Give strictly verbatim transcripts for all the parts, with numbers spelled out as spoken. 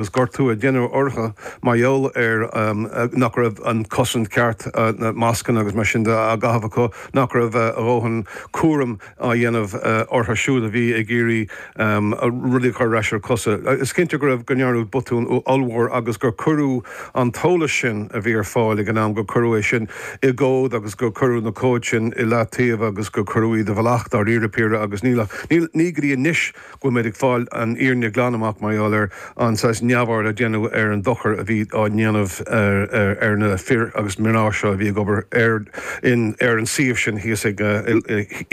Agus gortú a déanamh orthu mar gheall ar nach raibh an cosaint ceart, na mascanna agus mar sin de á gcaitheamh acu, nach raibh a dhóthain cúraim á dhéanamh orthu siúd a bhí ag iarraidh rudaí a chur ar ais ar a cosa. Is cinnte go raibh, go ndearnadh botún ollmhór agus gur cuireadh an t-eolas sin a bhí ar fáil ag an am, gur cuireadh é sin i gcomhad agus gur cuireadh na comhaid sin i leataobh agus gur cuireadh iad i bhfolach dáiríre píre agus níl ach, ní go dtí anois go bhfuil muid ag fáil an fhírinne glan amach mar gheall ar an saghas neamhaird a déanadh ar an dochar a bhí á ndéanamh ar na fir agus mná seo a bhí ag obair ar in ar an suíomh sin thíos ag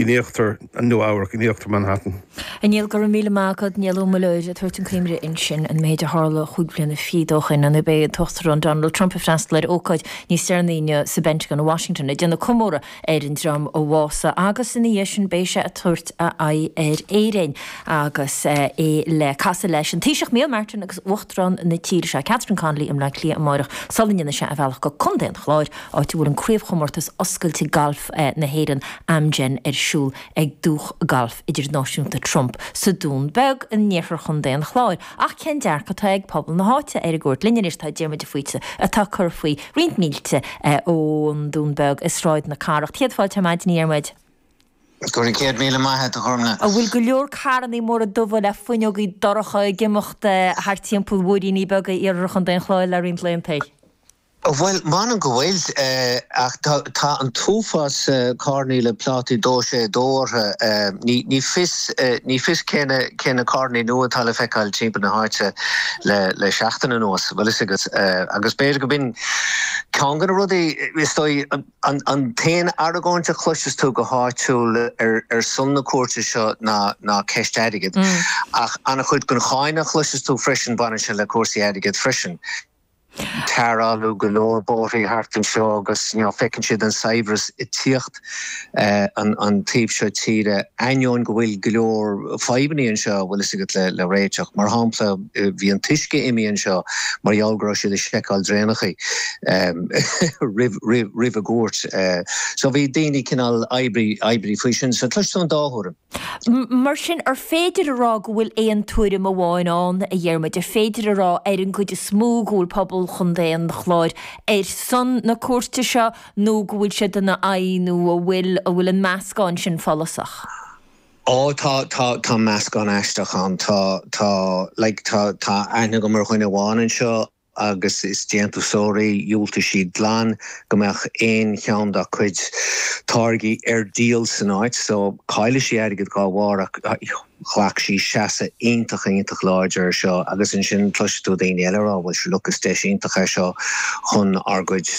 in íochtar Nua Eabhrac, in íochtar Manhattan. A Néill, go raibh míle maith agat. Niall Ó Muilleoir ag tabhairt an choimre ansin an méid a tharla chúig bliana fichead ó shin nuair beidh an tUachtarán Donald Trump ag freastal ar ócáid níos deireanaí inniu sa bPentagon i Washington ag déanamh comóradh ar an dream a bhásaigh agus ina dhiaidh sin beidh sé ag tabhairt a aghaidh ar Éirinn agus é le casadh leis an Taoiseach Micheál Martin agus Uachtarán na tíre seo Catherine Connolly i mBleá Cliath amáireach sula ndéanfaidh sé a bhealach go Contae an Chláir áit a bhfuil an Craobhchomórtas Oscailte Gailf na hÉireann Amgen ar siúl ag Dúch Gailf Idirnáisiúnta Trump sa Dún Beag in iarthar Chontae an Chláir. Ach cén dearcadh atá ag pobal na háite ar an gcuairt? Linn anois tá Diarmuid de Faoite atá ag cur faoi roinnt mílte ón Dún Beag i Sráid na Cathrach. Céad fáilte ar maidin a Dhiarmuid. Go raibh céad míle maith agat a Ghormfhlaith. An bhfuil go leor carrannaí móra dubha le fuinneogaí dorcha ag imeacht thart timpeall mhúiríní beaga iarthar Chontae an Chláir le roinnt laethanta? Bhuel, m'anam go bhfuil, ach tá an t-uafás carrannaí le plátaí dó sé dó orthu. Ní fios, ní fios cé na, cé na carrannaí nua atá le feiceáil timpeall na háite le, le seachtain anuas, bhfuil fhios agat. Agus b'fhéidir go b'in ceann de na rudaí, is dóigh, an, an t-aon argóint a chloiseas tú go háitiúil ar, ar son na cuairte seo ná, ná ceist airgid. Ach an-chuid den cháineadh a chloiseas tú freisin, baineann sé le cúrsaí airgid freisin. Tarrtháladh go leor bóithrí thart anseo agus you know feiceann siad an saibhreas ag tíocht an an taobh seo tíre, ainneoin go bhfuil go leor fadhbanna anseo, bhfuil fhios agat, le le réiteach. Mar shampla, bhí an t-uisce imithe anseo mar gheall go raibh siad ag seiceáil draenachaí roimh roimh roimh an gcuairt. So bhí daoine cineál oibrí oibrí faoi sin. So cloisfidh tú an dá thuairim. Mar sin, ar féidir a rá go bhfuil aon tuairim amháin ann, a Dhiarmuid? Ar féidir a rá, ar an gcuid is mó, go bhfuil pobal Chontae an Chláir ar son na cuairte seo nó go bhfuil siad ina aghaidh nó an bhfuil, an bhfuil an meascán sin follasach? Ó, tá, tá, tá meascán aisteach ann. Tá, tá, like, tá, tá aithne agam ar dhuine amháin anseo, agus is déantúsóir í, dhiúltaigh sí glan go mbeadh aon cheann dá cuid táirgí ar díol san áit, so caillfidh sí airgead dhá bharr ach ghlac sí seasamh iontach iontach láidir ar seo agus ansin cloisfidh tú daoine eile ag rá bhuel sure look is deis iontach é seo chun ár gcuid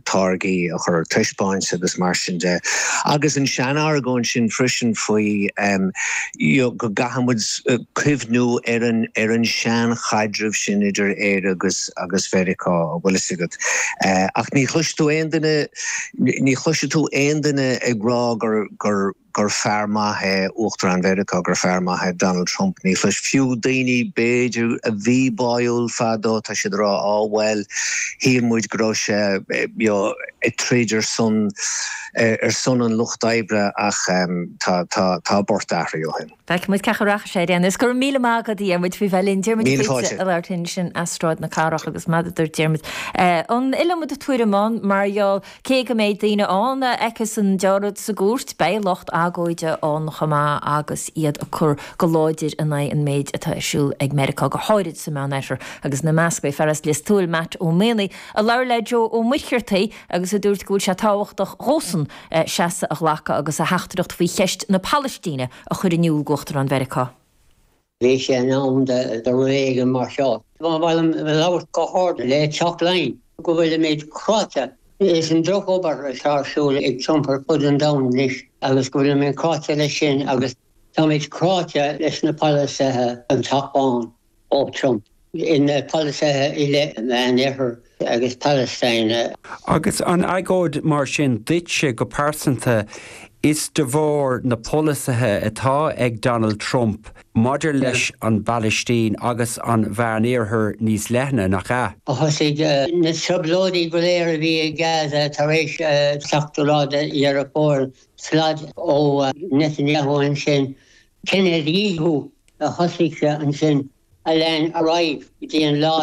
táirgí a chur ar taispeáint agus mar sin de. Agus an sean-argóint sin freisin faoi you know go gcaithfidh muid cuimhniú ar an ar an sean-chaidreamh sin idir Éire agus agus Mheiriceá, an bhfuil fhios agat. Ach ní chloisfidh tú aon duine, ní chloisfidh tú aon duine ag rá gur gur gur fear maith é Uachtarán Mheiriceá, gur fear maith é Donald Trump. Ní chloisfidh, fiú daoine b'fhéidir a bhí báúil fadó, tá siad ag rá, á bhuel, shíl muid go raibh sé you know ag troid ar son ar son an lucht oibre ach tá tá tá an port athraithe ó shin. Feicfidh muid cén chaoi a rachaidh sé ar aon nós. Go raibh míle maith agat a Dhiarmuid faoi bheith linn. Diarmuid Míle de Faoite fáilte. ag labhairt linn ansin as Sráid na Cathrach agus mar a dúirt Diarmuid, an iliomad tuairim ann mar gheall cé go mbeidh daoine ann a fheicfeas an deáramh sa gcúirt, beidh lucht agóide ann chomh maith agus iad ag cur go láidir in aghaidh an méid atá ar siúl ag Meiriceá, go háirid sa Meánoirthear agus ina measc beidh fear as Lios Tuathail, Matt Ó Maonaigh, a labhair le Joe Ó Muircheartaigh agus a dúirt go bhfuil sé tábhachtach dhósan seasamh a ghlacadh agus a theachtaireacht faoi cheist na Palaistíne a chur in iúl d'Uachtarán Mheiriceá. Bhí sé in am do rud éigin mar seo. Ba mhaith liom labhairt go hard le Teach Laighean go bhfuilimid cráite leis an drochobair atá ar siúl ag Trump ar fud an domhain anois agus go bhfuilimid cráite leis sin agus táimid cráite leis na polasaithe an Teach Bán. ó Trump ina pholasaithe i leith an Mheánoirthir agus Palestine. Agus an agóid mar sin duitse go pearsanta, is de bharr na polasaithe atá ag Donald Trump maidir leis an bPalaistín agus an Mheánoirthear níos leithne, nach ea? Thosaigh na trioblóidí go léir a bhí i Gaza tar éis seachtú lá de Dheireadh Fómhair, slad ó Netanyahu ansin, cinedhíothú a thosaigh sé ansin. a lean ar aghaidh go dtí an lá